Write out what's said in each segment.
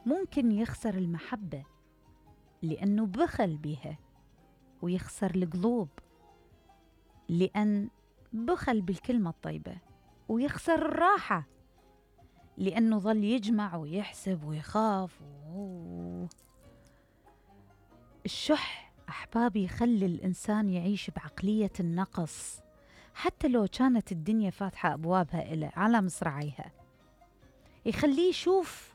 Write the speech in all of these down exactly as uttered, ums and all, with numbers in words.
ممكن يخسر المحبة لأنه بخل بها، ويخسر القلوب لأن بخل بالكلمة الطيبة، ويخسر الراحة لأنه ظل يجمع ويحسب ويخاف. و... الشح أحبابي يخلي الإنسان يعيش بعقلية النقص، حتى لو كانت الدنيا فاتحة أبوابها إله على مصراعيها، يخليه يشوف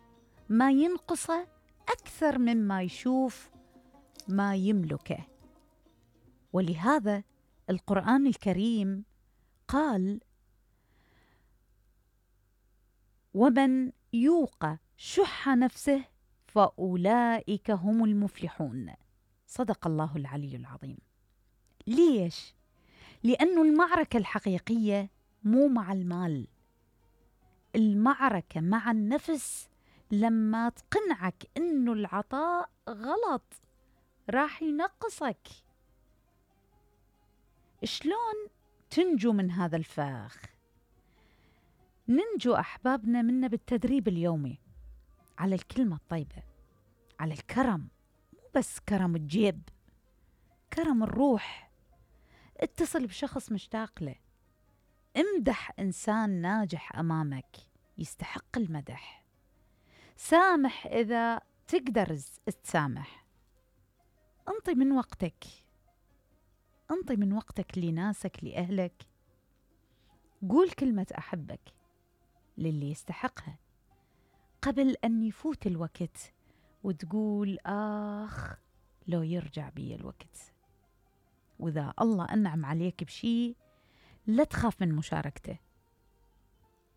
ما ينقصه أكثر مما يشوف ما يملكه. ولهذا القرآن الكريم قال: ومن يوق شح نفسه فأولئك هم المفلحون. صدق الله العلي العظيم. ليش؟ لأنه المعركة الحقيقية مو مع المال، المعركة مع النفس. لما تقنعك إنه العطاء غلط راح ينقصك. شلون تنجو من هذا الفخ؟ ننجو أحبابنا منه بالتدريب اليومي على الكلمة الطيبة، على الكرم، مو بس كرم الجيب، كرم الروح. اتصل بشخص مشتاق له، امدح إنسان ناجح أمامك يستحق المدح، سامح إذا تقدر تسامح، انطي من وقتك، انطي من وقتك لناسك لأهلك، قول كلمة أحبك للي يستحقها قبل أن يفوت الوقت وتقول آخ لو يرجع بي الوقت. وإذا الله أنعم عليك بشي لا تخاف من مشاركته،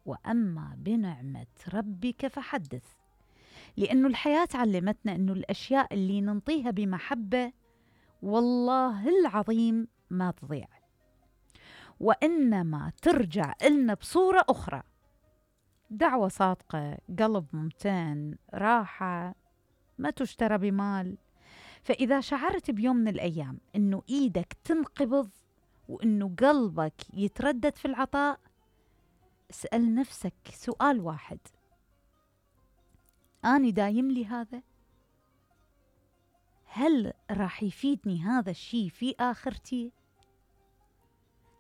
وأما بنعمة ربك فحدث. لأنه الحياة علمتنا أنه الأشياء اللي ننطيها بمحبة والله العظيم ما تضيع، وإنما ترجع إلنا بصورة أخرى. دعوة صادقة، قلب ممتن، راحة ما تشترى بمال. فإذا شعرت بيوم من الأيام إنه إيدك تنقبض وإنه قلبك يتردد في العطاء، اسأل نفسك سؤال واحد: أنا دايم لي هذا؟ هل راح يفيدني هذا الشيء في آخرتي؟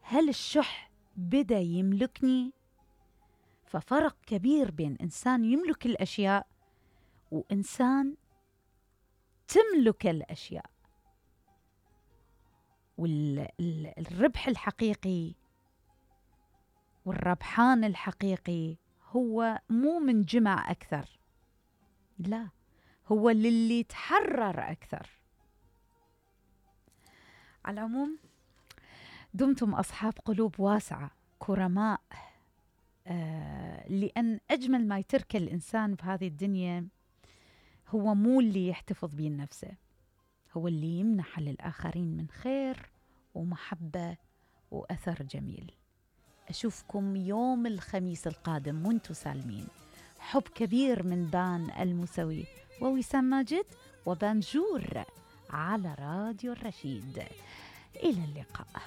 هل الشح بدأ يملكني؟ ففرق كبير بين إنسان يملك الأشياء وإنسان تملك الأشياء. والربح الحقيقي والربحان الحقيقي هو مو من جمع أكثر، لا، هو للي تحرر أكثر. على العموم دمتم أصحاب قلوب واسعة كرماء، آه لأن أجمل ما يترك الإنسان بهذه الدنيا هو مو اللي يحتفظ به نفسه، هو اللي يمنح للآخرين من خير ومحبة وأثر جميل. أشوفكم يوم الخميس القادم وانتم سالمين. حب كبير من بان الموسوي ووسام ماجد وبانجور على راديو الرشيد. إلى اللقاء.